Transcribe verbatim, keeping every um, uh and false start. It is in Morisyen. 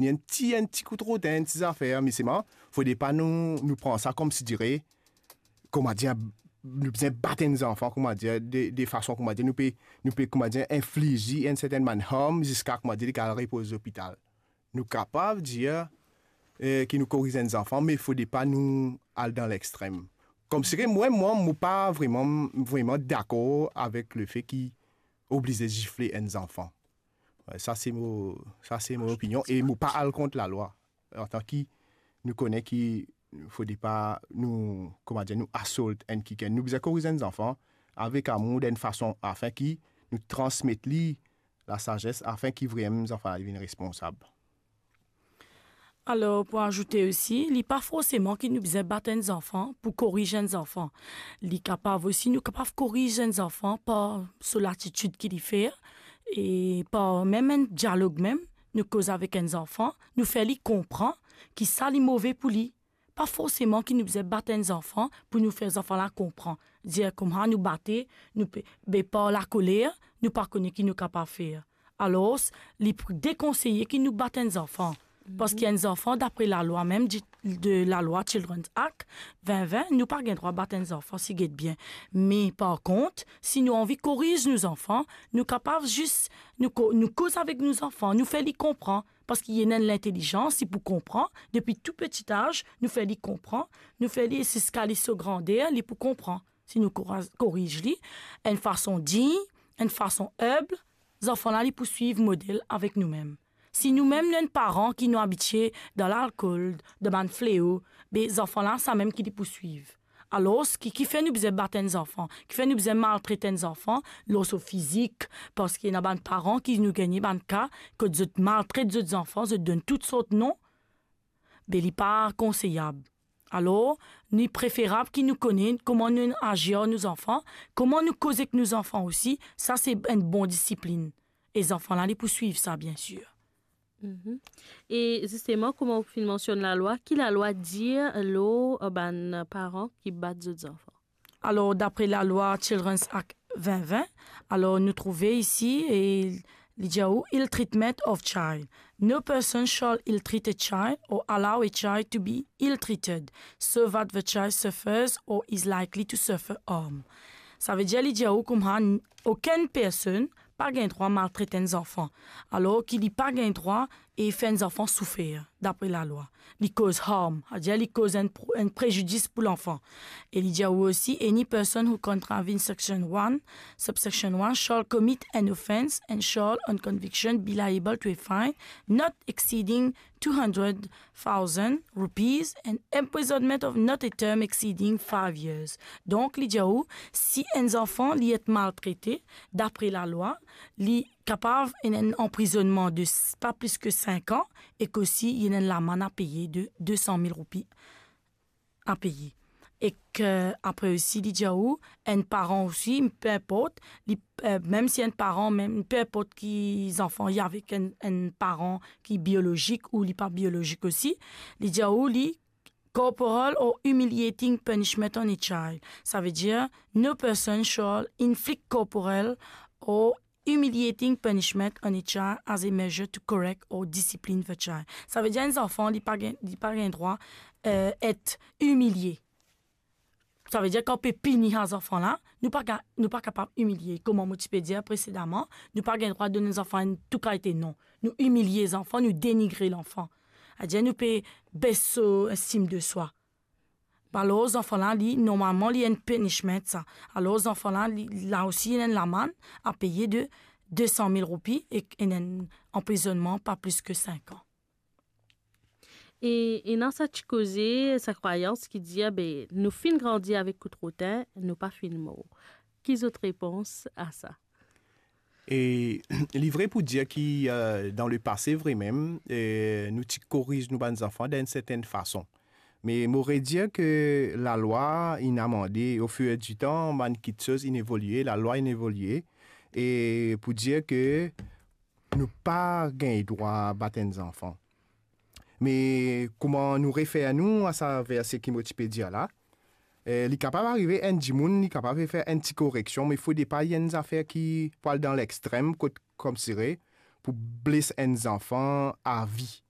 ni enn ti, enn ti kout rotin, enn ti zafer, me selman, fode pa nou, nou pran sa koumsidire, koumadir, nou bizin bat enn zanfan, koumadir, de, de fason, koumadir, nou pe, nou pe, koumadir, infliz li enn sertenn bann harm, ziska, koumadir, li kapav repoz lopital. Nou kapav dir, eh, ki nou koriz enn zanfan, me fode pa nou al dan lextrem. Koumsi mwa, mwa, mo pa vreman, vreman dakor avek lefe ki oblize zifle enn zanfan. Sa se mo, sa se mo opinion e mo pa al kont lalwa. Antan ki nou kone ki fode pa nou, koumadir, nou assault enn kikenn. Nou bizin koriz enn zanfan avek amour, dan enn fason afin ki nou transmet li lasazes, afin ki vremem zanfan la vinn responsab. Alor, pou azoute osi, li pa forseman ki nou bizin bat enn zanfan pou koriz enn zanfan. Li kapav osi, nou kapav koriz enn zanfan par so latitid ki li fer, e par mem enn dialog mem, nou koz avek enn zanfan, nou fer li konpran ki sa li move pou li. Pa forseman ki nou bizin bat enn zanfan pou nou fer zanfan la konpran. Dir kouma nou bate, nou pe, be par lakoler, nou pa kone ki nou kapav fer. Alor, li pou dekonseye ki nou bat enn zanfan. Parski enn zanfan, dapre lalwa mem di, de lalwa Children's Act vin vin, nou pa gagn drwa bat enn zanfan, si get bien. Me par kont, si nou anvi koriz nou zanfan, nou kapav zis, nou ko-, nou koz avek nou zanfan, nou fer li konpran, parski li ena enn lintelizans, li pou konpran, depi tou peti az, nou fer li konpran, nou fer li ziska li so grander, li pou konpran. Si nou koriz, koriz li, enn fason dign, enn fason enb, zanfan la li pou swiv model avek nou mem. Si nou mem nou enn paran ki nou abitie dan lalkol, dan bann fleo, be zanfan la sa mem ki li pou swiv. Alor, ki, kifer nou bizin bat enn zanfan? Kifer nou bizin maltret enn zanfan lor so fizik? Parski ena bann paran ki nou gagne bann ka kot zot maltret zot zanfan, zot donn tou sort non. Be li pa konseyab. Alor, li preferab ki nou kone kouma nou azir ar nou zanfan, kouma nou koz ek nou zanfan osi, sa se enn bon disiplin. E zanfan la, li pou swiv sa, biensir. Mhm. E zisteman, kouma ou finn mansionn lalwa, ki lalwa dir lor, eh, bann paran ki bat zot zanfan? Alor, dapre lalwa Children's Act vin vin, alor nou trouve isi, e li dir ou, ill treatment of child. No person shall ill treat a child or allow a child to be ill treated, so that the child suffers or is likely to suffer harm. Savedir, li dir ou kouma n-, okenn personn pa gagn drwa maltret enn zanfan, alor ki li pa gagn drwa e fer enn zanfan soufer, dapre lalwa. Li koz harm, savedir li koz enn pro-, enn prezidis pou lanfan. E li dir ou osi, any person who contravene section one, subsection one, shall commit an offence and shall, on conviction, be liable to a fine not exceeding two hundred thousand rupees and imprisonment of not a term exceeding five years. Donk, li dir ou, si enn zanfan li et maltrete, dapre lalwa, li kapav ena enn anprizonnman de s-, pa plis ki sink an, ek osi li ena enn lamann a peye de de san mil roupi a peye. Ek, eh, apre osi, li dir ou, enn paran osi, pe inport, li, eh, mem si enn paran, mem, pe inport ki zanfan li avek enn, enn paran ki biolozik ou li pa biolozik osi, li dir ou, li corporal or humiliating punishment on a child. Savedir, no person shall inflict corporal or humiliating punishment on a child as a measure to correct or discipline the child. Savedir enn zanfan, li pa gagn, li pa gagn drwa, eh, et imilie. Savedir kan ou pe pini sa zanfan la, nou pa ga-, nou pa kapav imilie. Kouma mo ti pe dir presedaman, nou pa gagn drwa donn zanfan enn tou kalite non. Nou imilie zanfan, nou denigre lanfan. Savedir nou pe bes so estim de swa. Alor, zanfan la, li, normalman, li enn punishment, sa. Alor, zanfan la, li, la osi, li ena enn lamann a peye de de san mil roupi ek enn, enn anprizonnman pa plis ki sink an. E, ena sa ti koze, sa krwayans ki dir, be, nou finn grandi avek kout rotin, nou pa finn mor. Ki zot repons a sa? E li vre pou dir ki, eh, dan lepase vremem, eh, nou ti koriz nou bann zanfan dan enn sertenn fason. Me mo redir ki lalwa inn amande, au fur et à mesure du temps, bann kitsoz inn evolie, lalwa inn evolie, e pou dir ki nou pa gagn drwa bat enn zanfan. Me kouma nou refer nou a sa verse ki mo ti pe dir la, eh, li kapav arive enn dimoun, li kapav fer enn ti koreksion, me fode pa enn zafer ki pou al dan lextrem, kot koumsire pou bles enn zanfan a vi.